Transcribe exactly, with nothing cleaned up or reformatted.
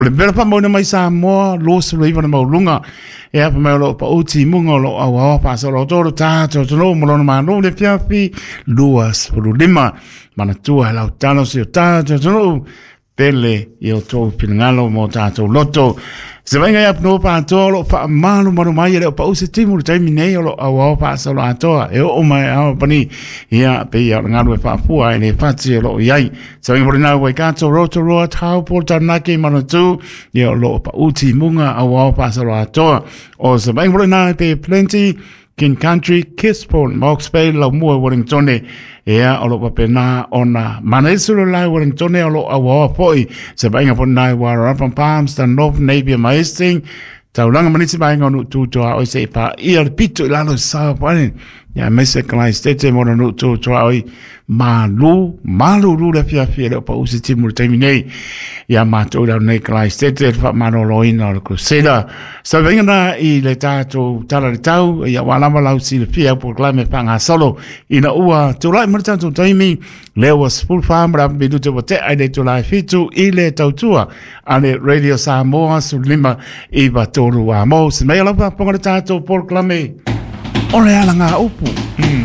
O le mea faamauina mai Samoa luasefulu iva le maualuga e apa mai o loo pau timuga o loo auaoa faasoloatoa lo tatou atunuu ma lona Malo le afiafi luasefulu lima. Manatua e lautalo si o tatou atunuu pele i o tou finagalo mo tatou loto se vaaiga i apanua patoa o loo faamalumalu mai e le o pau se timu le taimi nei o loo auao faasoloatoa e oo mai ao pani ia pe ia o le galu e faafua e le fati o loo i ai se vaaiga polina Waikato, Rotorua, Taupo, Taranaki, Manatū ia o loo pau timuga auao faasoloatoa o se vaaiga polina pe Plenty, King Country, Gisborne, Hawke's Bay, Laumua, Wellington ia o loo faapena ona manaisu le lai Wellington o loo auaoa foi se vaaiga polina Wairarapa, Palmerston North, Napier ma Hastings taulaga ma nisi vaega o nuu tutoa oi se i paia le pito i lalo i sa pane ia aemaise Kalaistete mo na nuu tutoa oi malu malulu le afiafi e le o pau se timu le taimi nei ia matou i lalo nei Kalaistete le faamaloloina o le Crusader sa vaiga na i le tatou tala le tau ia ua lava lau silafia au polokalame faagasolo ina ua tulai ma le tatou taimi lea ua sefulu fa ma le minute ua tea i le itula e fitu i le tautua a le Radio Samoa sefulu lima iva tolu a mo se mea lau faafofoga le tatou polokalame o le alaga upu.